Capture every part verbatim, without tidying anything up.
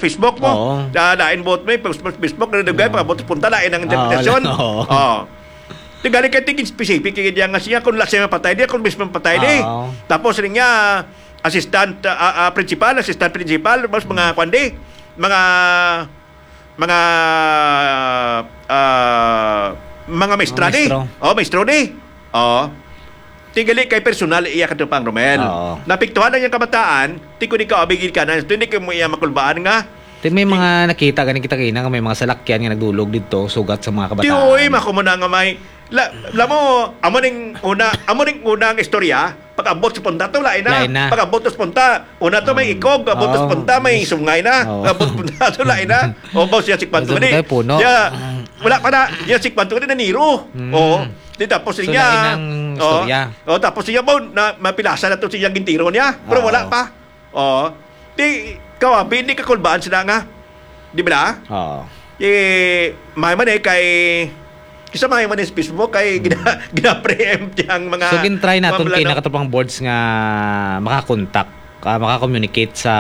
Facebook mo. Oo. Ah, lain buot mo, eh, Facebook, Facebook, na dugay, Oo. pag-abot sa punta, lain ang Oo, interpretasyon. oo. Oo. Tigali kay tigin specific, kay diyan nga siya, kung last siya mapatay di, kung mismo mapatay di. Oo. Tapos rin niya, assistant, ah, ah, principal, assistant principal, mas mga kwan di, mga, mga, ah, mga maestra Mga di. maestro. Oh, maestro di. Oh. Tigali kay personal iya katupang Romel. Oo. Napiktuhan ang iyang kabataan, ti ko di ka abigil ka na, hindi ka mo iya makulbaan nga. Ti may mga nakita gani kita kina nga may mga salakyan nga nagdulog dito, sugat sa mga Ti kabataan. Oy, mako mo na nga may, la, la mo, amo ning una, amo ning una ang istorya, pag-abot sa punta to, lain na. Lain na. Pag-abot sa punta, una to may Um, ikog, abot sa oo. punta, may sungay na. Oo. Abot sa punta to, lain na. O, ba siya si Kwanto Abot sa ni? punta, puno. Ya, wala pa na. Ya, si Kwanto ni naniro. Mm. Oo. Di tapos So, niya. lain ang Oo. istorya. Oo, tapos niya po, na, mapilasa na to siya gintiro niya. Pero wala Oo. pa. Oo. Di, kawabi, hindi kakulbaan sila nga. Di ba? Oo. Eh, may man eh, kay, kisa may man eh sa Facebook, kay Mm. gina-, gina-preempt niya ang mga So, gintry naton mga kay plano. Nakatupang boards nga makakontak, ah, makakomunicate sa,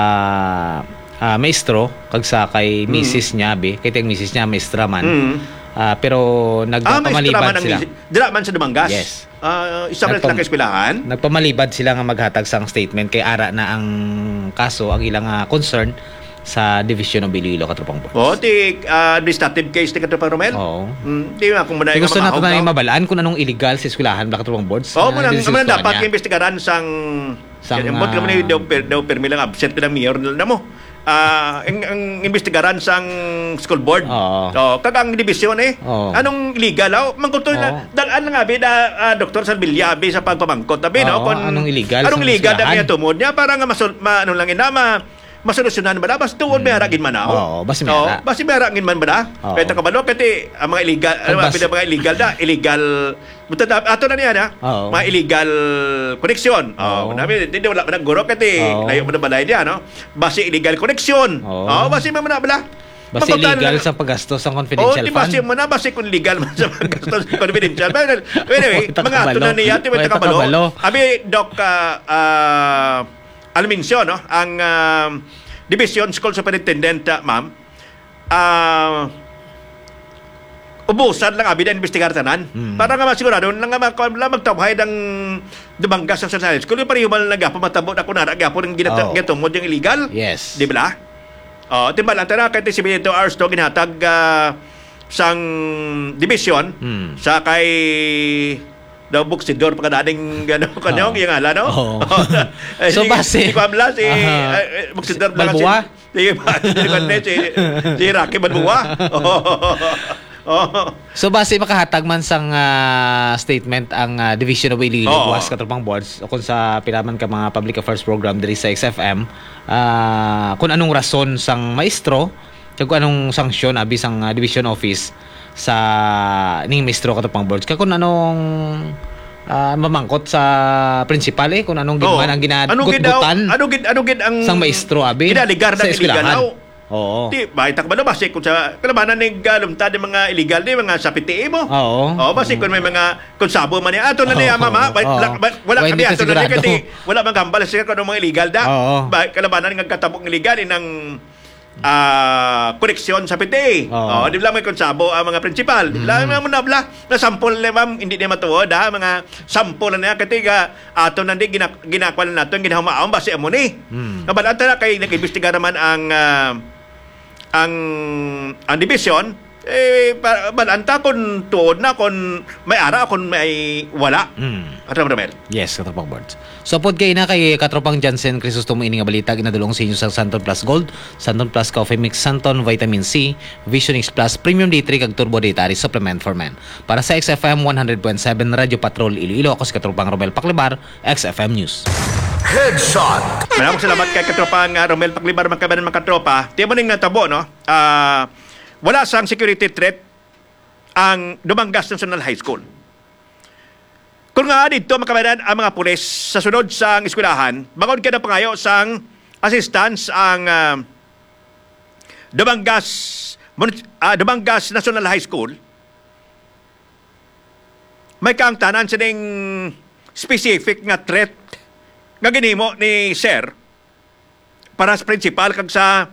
ah, maestro, kag sa kay Mm. misis niya, abi. Kay tiyang misis niya, maestra man. Mm. Ah, pero Ah, maestra nagpamalibad man ang sila. misis. Dira man sa Dumangas? Yes. Ah, isa man Nagpam-, sila ka eskwelahan? nagpamalibad sila nga maghatag sang statement kay ara na ang kaso, ang ilang, ah, concern sa Division of Iloilo, Katropang Boards. Oh, ti, ah, administrative case ni Katropang Romel? Oo. Mm, di nga, kung muna Di yung gusto nato mamahog na yung daw. mabalaan kung anong illegal sa eskwelahan, Katropang Boards, Oh, na muna, muna imbestigahan dapat niya. yung imbestigaran sang, Sang, ambot kami ah, ni daw, per-, daw permi lang absent ng mayor na mo. Ah, ang, ang imbestigaran sang school board. Oo. Oh, kag ang division eh. Oo. Anong illegal, oh? Mangkuto na, Oo. dal-an nga, abi, na, ah, Doktor Salvilla, abi, sa pagpamangkot, abi, no? Oo, Kung anong illegal anong sa illegal na eskwelahan? niya tumod niya para nga masul-, ma-, ano lang ina, ma-, masolusyonan ba na? Basta tuod may Mm. haragin man na, oh. Oo, basta may Oo, hara. basta may haragin man ba na? Oo. Kaya takabalo, kaya ang mga illegal, Kung ano, bas- abi, na mga illegal na, illegal, buta na, ato na niya na, Oo. mga illegal connection. Oh, Oo. nabi, di, di, wala man ang guro, kaya Oo. layo mo na balay niya, no? Basi illegal connection. Oo. Oh, basi man na bala. Basi Mapunta illegal na sa paggastos sa confidential Oh, di basi fund. mo na, basi kung legal man sa paggastos sa confidential. But anyway, Wala mga ato kabalo. na niya, ti may Wala takabalo. kabalo. Abi, Doc, ah, ah, Almincio, no? Ang, ah, Division School Superintendent, ah, ma'am, ah, ubusan lang abi na investigar tanan. Mm. Para nga masigurado lang nga mag-, lang magtawhay ang Dumangas sa National School. Yung pareho man lang gapon, matabo na kung nara gapon ang ginata-, Oh. gitumod yung illegal. Yes. Di ba? Oh, timbal, ang tara, kay seventy-two hours to ginhatag, ah, sang division Hmm. sa kay daw buksidor pa kadading, ano, kanyang Oo. yung ala, no? Oo. Eh, So, si, base. si Kwamla, si, Aha. eh, eh, buksidor Si lang Balboa? si, si, si, si, si Rocky Balboa. Oo. Oo. So, base makahatag man sang, ah, statement ang, ah, Division of Iloilo Oo. Guas, Katropang Boards, o kung sa pila man ka mga public affairs program diri sa X F M, ah, kung anong rason sang maestro, kag kung anong sanksyon abi sang, ah, Division Office sa ning maestro, Katropang Boards, kag kung anong, ah, mamangkot sa principal, eh, kung anong gid Oo. man ang Ano gid daw, ginagutgutan ano gid, ano gid ang sang maestro abi ginaligar sa ng illegal eskwelahan. daw? Oo. Di, bahay takbalo, basi kung sa kalabanan ni galumta ng mga illegal, di, mga sa P T A mo. Oo. Oo, basi kung may mga, kung sabo man niya, ato na Oo. niya, mama, wala, Oo. wala, wala Wala, kami, hindi ka ato na niya, sigurado. Kasi wala man gambal siya kung anong mga illegal da. Oo. Ba, kalabanan nga katabok ng illegal, inang, ah, koneksyon sa P T A. Oo. Oo, di lang may kung sabo ang mga principal. Di lang Mm. mo na bla, na sample na, ma'am, hindi niya matuod, ha, mga sample na niya, katiga, ato na di, gina-, ginakuha na nato, ginahumaon, basi amo ni. Hmm. Nabalaan ta na kay nag-imbestiga naman ang, ah, ang, ang division, eh, pa-, balaan ta kung tuod na, kung may ara, kung may wala. Hmm. Ato, Romel. Yes, Katropang Boards. So, pod kay na kay Katropang Jansen Crisostomo ini nga balita, ginadulong sa inyo sa Santon Plus Gold, Santon Plus Coffee Mix, Santon Vitamin C, Vision X Plus, Premium D three, kag Turbo Dietary Supplement for Men. Para sa X F M one hundred point seven Radyo Patrol Iloilo, ako si Katropang Romel Paclibar, X F M News. Headshot. Maraming salamat kay Katropang, ah, Romel Paclibar, mga kabayan, mga katropa. Tiyan mo ning natabo, no? Ah, wala sang security threat ang Dumangas National High School. Kung nga dito, mga kabayan, ang mga pulis sa sunod sang eskwelahan, bangod kay napangayo sang assistance ang, ah, Dumangas Mun-, ah, Dumangas National High School, may kaangtanan sining specific nga threat nga ginhimo ni Sir para sa principal kag sa